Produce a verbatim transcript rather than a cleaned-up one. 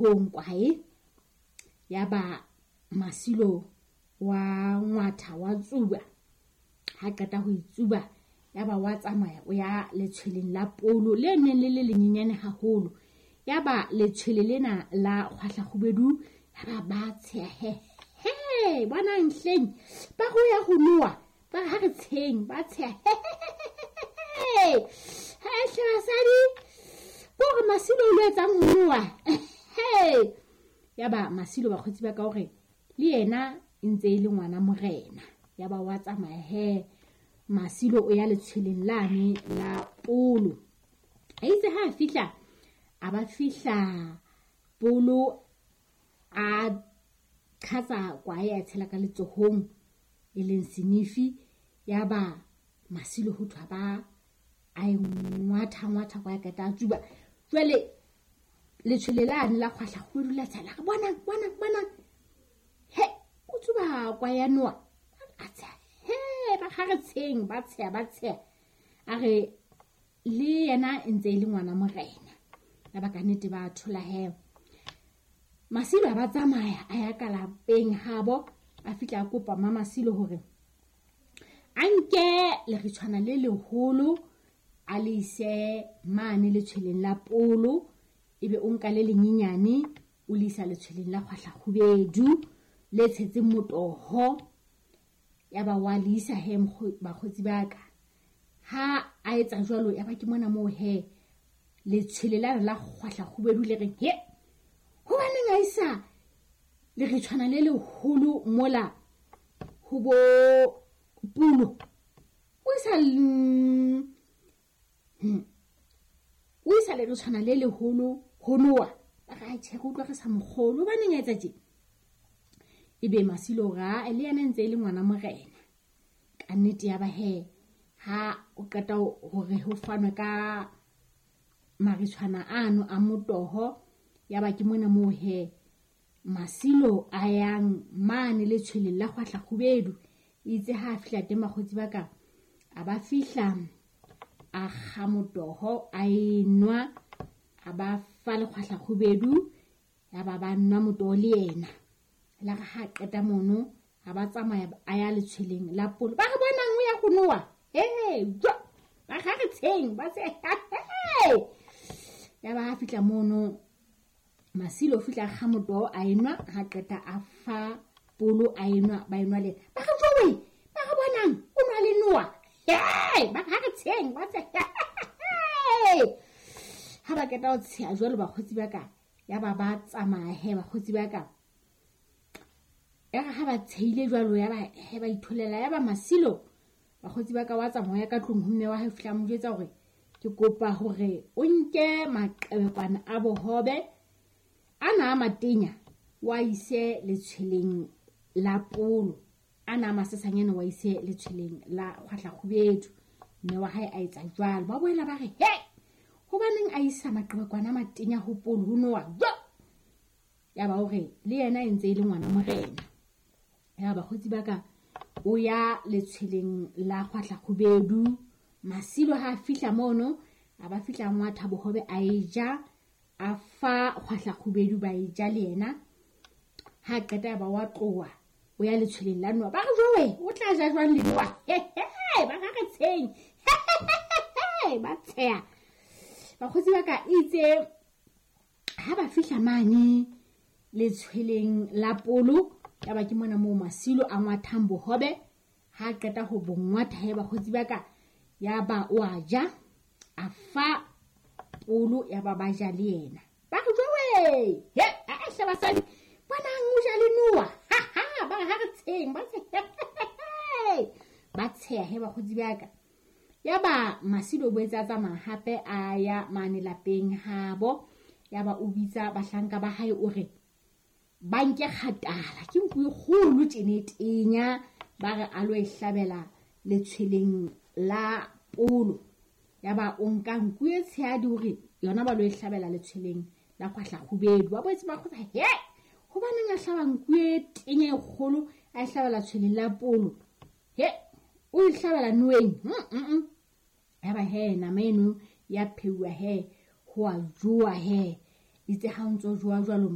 letsohong kwae. Yaba Masilo wa ngwatha wa tsuba. Ha qeta ho itsuba yaba wa tsamaya o ya letshweleng la polo le neng le le lenyenyane haholo. Yaba letshwele lena la kgwahla kgubedu yaba ba tsheha, he he bonang hleng ba ho ya ho noa ba ha re tsheng ba tsheha, he hle basadi hore Masilo o lo etsang ho noa. He yaba Masilo bakgotsi ba ka hore le yena e ntse e le ngwana morena. Yaba wa tsamaya he Masilo o ya letshweleng lane la polo. Eitse ha a fihla a ba fihla polo a qhatsa kwae a tshela ka letsohong e leng senifi. Yaba Masilo ho thwa ba a e ngwatha ngwatha kwae qeta a tsuba. Jwale letshwele lane la kgwahla kgubedu la tsela re bonang bonang bonang he o tsuba kwae ya noa a tsheha, he ba ha re tsheng ba tsheha ba tsheha. A re le yena e ntse e le ngwana morena. Yaba ka nnete ba thola he Masilo a ba tsamaya a ya ka lapeng habo. A fihla a kopa mma Masilo hore a nke leritshwana le leholo a le ise mane letshweleng la polo, ebe o nka le lenyenyane o le isa letshweleng la kgwahla kgubedu le tshetseng motoho. Yaba wa le isa he bakgotsi ba ka. Ha a etsa jwalo yaba ke mona moo he letshwele la la kgwahla kgubedu le reng he hobaneng a isa leritshwana le leholo mola ho bo pulo o isa hmm o isa leritshwana le leholo ho noa ba re tjhe re utlwa re sa mokgolo hobaneng a etsa tje. Ebe Masilo ra le yena ntse e le ngwana morena ka nnete. Yaba he ha o qeta hore ho fanwe ka maritshwana ano a motoho. Yaba ke mona moo he Masilo a yang mane letshweleng la kgwahla kgubedu. Itse ha a fihla teng bakgotsi ba ka a ba fihla a kga motoho a enwa a ba fa le kgwahla kgubedu. Yaba ba nwa motoho le yena. La re ha qeta mono ha ba tsamaya a ya letshweleng la polo ba re bonang o ya go noa he jo ba ga re tsheng ba tse. Yaba ha fihla mono Masilo fihla kga motoho a enwa ha qeta a fa polo a enwa ba enwa le ba re jowe ba re bonang o nwa le noa he ba ga re tsheng ba tse. Ha ba qeta ho tsheha jwalo bakgotsi ba ka yaba ba tsamaya he bakgotsi ba ka. Ya ha ba tsheile jwalo yaba he ba itholela. Yaba Masilo bakgotsi ba ka wa tsamaya ka tlung ho mme wa hae fihla mo jwetsa hore ke kopa hore o nke maqebekwana a bohobe ana a matenya wa ise letshweleng la polo, ana a masesanyana wa ise letshweleng la kgwahla kgubedu. Mme wa hae a etsa jwalo. Ba boela ba re he hobaneng a isa maqebekwana a matenya ho polo ho noa jo. Yaba hore le yena e ntse e le ngwana morena. Yaba bakgotsi ba ka o ya letshweleng la kgwahla kgubedu. Masilo ha a fihla mono a ba fihla ngwatha bohobe a e ja a fa kgwahla kgubedu ba e ja le yena. Ha qeta ba wa tloha o ya letshweleng la noa ba re jowe o tla ja jwang le noa he he ba ga re tsheng ba tsheha. Bakgotsi ba ka itse ha ba fihla mane letshweleng la polo yaba ke mona moo Masilo a ngwathang bohobe. Ha qeta ho bo ngwatha he bakgotsi ba ka yaba o a ja a fa polo yaba ba ja le yena. Ba re jowe he a hle basadi bonang o ja le noa ha ha ba ha re tsheng ba tsheha ba tsheha he bakgotsi ba ka. Yaba Masilo o boetse a tsamaya hape a ya mane lapeng habo. Yaba o bitsa bahlanka ba hae o re ba nke kgatala ke nku e kgolo tjene tenya ba re a lo e hlabela letshweleng la polo. Yaba o nka nku e tshehadi hore yona ba lo e hlabela letshweleng la kgwahla kgubedu. Ba boetse ba kgotsa he hobaneng a hlaba nku e tenya e kgolo a e hlabela tshweleng la polo he o e hlabela noeng. Yaba he nama eno ya pheuwa he ho a jowa he. Itse ha o ntso jowa jwalo.